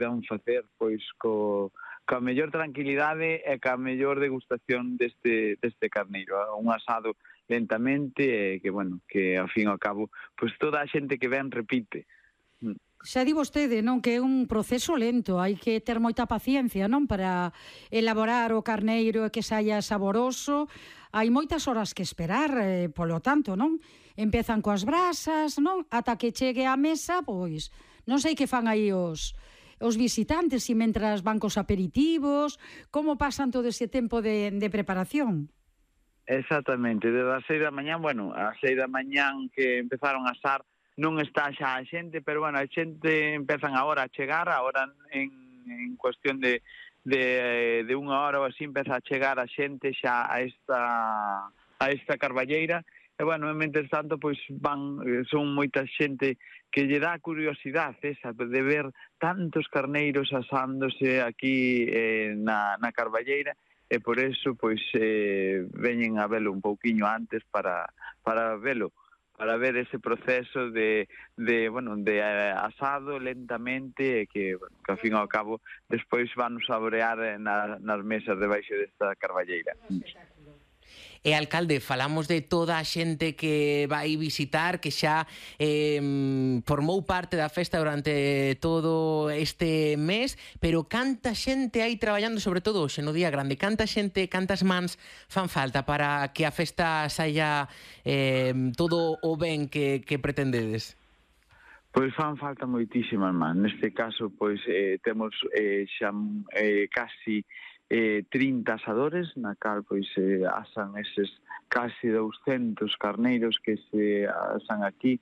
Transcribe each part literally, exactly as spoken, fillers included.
podan facer pois co, coa mellor tranquilidade e coa mellor degustación deste, deste carneiro. Un asado lentamente e que, bueno, que ao fin e ao cabo, pois toda a xente que ven repite. Xa di vostede, non, que é un proceso lento, hai que ter moita paciencia, non, para elaborar o carneiro e que saia saboroso. Hai moitas horas que esperar, eh, polo tanto, non? Empezan coas brasas, non? Ata que chegue á mesa, pois, non sei que fan aí os os visitantes, e mentras van cos aperitivos, como pasan todo ese tempo de, de preparación? Exactamente, desde as seis da mañán, bueno, as seis da mañán que empezaron a asar, non está xa a xente, pero, bueno, a xente empezan agora a chegar, agora en, en cuestión de, de, de unha hora ou así empeza a chegar a xente xa a esta, a esta carballeira, e, bueno, mentre tanto, pois, van, son moita xente que lle dá curiosidade esa de ver tantos carneiros asándose aquí eh, na, na carballeira, e por eso, pois, eh, veñen a velo un pouquiño antes para, para velo, para ver ese proceso de, de bueno, de asado lentamente e que, bueno, que ao fin e ao cabo despois van saborear na, nas mesas debaixo desta carballeira. E, alcalde, falamos de toda a xente que vai visitar, que xa eh, formou parte da festa durante todo este mes, pero canta xente hai traballando, sobre todo hoxe no día grande, canta xente, cantas mans fan falta para que a festa saia eh, todo o ben que, que pretendedes? Pois fan falta moitísimas mans. Neste caso, pois, eh, temos eh, xa eh, casi eh, trinta asadores, na cal pois eh, asan eses casi douscentos carneiros que se asan aquí,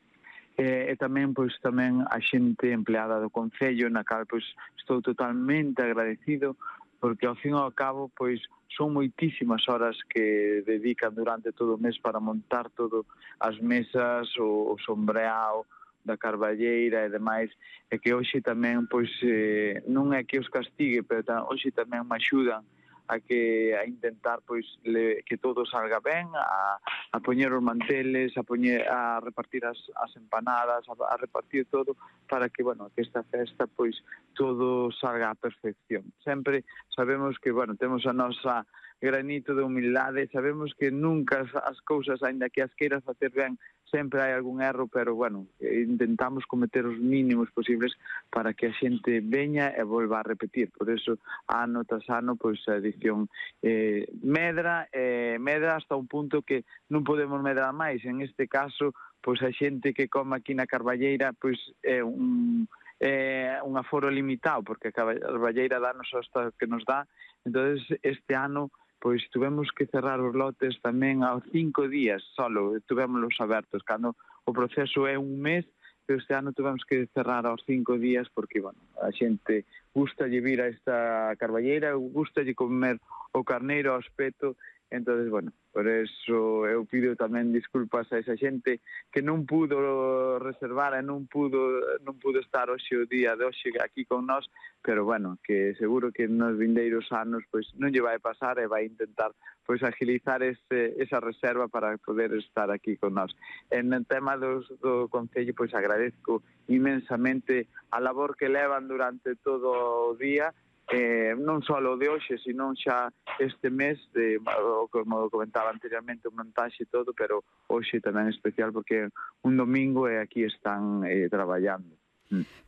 eh, e tamén pois tamén a xente empleada do Concello, na cal pois estou totalmente agradecido, porque ao fin e ao cabo pois son moitísimas horas que dedican durante todo o mes para montar todo as mesas, o, o sombreado da carballeira e demais, e que hoxe tamén, pois, eh, non é que os castigue, pero ta, hoxe tamén me axudan a que a intentar, pois, le, que todo salga ben, a, a poñer os manteles, a poñer, a repartir as, as empanadas, a, a repartir todo, para que, bueno, que esta festa, pois, todo salga á perfección. Sempre sabemos que, bueno, temos a nosa granito de humildade, sabemos que nunca as, as cousas, aínda que as queiras facer ben, sempre hai algún erro, pero, bueno, intentamos cometer os mínimos posibles para que a xente veña e volva a repetir. Por eso, ano tras ano, pois, a edición eh, medra, eh, medra hasta un punto que non podemos medrar máis. En este caso, pois, a xente que come aquí na carballeira, pois, é un... é un aforo limitado, porque a carballeira danos hasta que nos dá. Entonces, este ano, pois tuvemos que cerrar os lotes tamén aos cinco días solo, tuvémoslos abertos, cando o proceso é un mes, pero este ano tuvemos que cerrar aos cinco días porque, bueno, a xente gustalle vir a esta carballeira, gustalle comer o carneiro ao espeto. Entonces, bueno, por eso eu pido tamén disculpas a esa xente que non pudo reservar e non pudo non pudo estar hoxe o día de hoxe aquí con nós, pero, bueno, que seguro que nos vindeiros anos pois non lle vai pasar e vai intentar pois agilizar ese, esa reserva para poder estar aquí con nós. En el tema dos, do Concello, pois agradezco inmensamente a labor que levan durante todo o día, Eh, non só o de hoxe, sino xa este mes, de, como comentaba anteriormente, o montaxe e todo, pero hoxe tamén especial porque é un domingo e aquí están eh, traballando.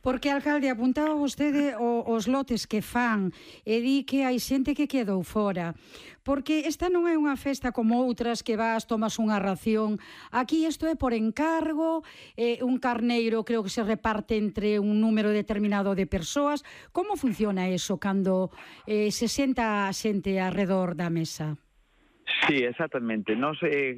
Porque, alcalde, apuntaba vostede o, os lotes que fan e di que hai xente que quedou fora, porque esta non é unha festa como outras que vas, tomas unha ración. Aquí isto é por encargo, eh, un carneiro creo que se reparte entre un número determinado de persoas. Como funciona eso cando eh, se senta a xente alrededor da mesa? Sí, exactamente. Nos, eh,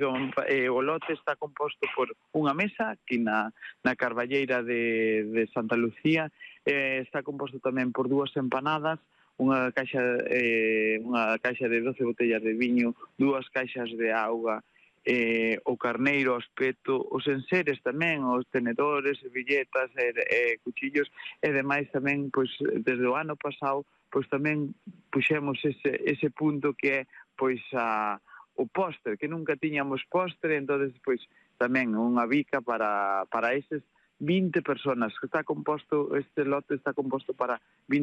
eh, o lote está composto por unha mesa aquí na, na carballeira de, de Santa Lucía, eh, está composto tamén por dúas empanadas, unha caixa, eh, unha caixa de doce botellas de viño, dúas caixas de auga, eh, o carneiro, o espeto, os enseres tamén, os tenedores, servilletas, e, eh, cuchillos, e demais tamén, pois, desde o ano pasado, pois tamén puxemos ese, ese punto que é pois a, o postre, que nunca tiñamos postre, entonces pois tamén unha bica para, para eses vinte personas, que está composto, este lote está composto para vinte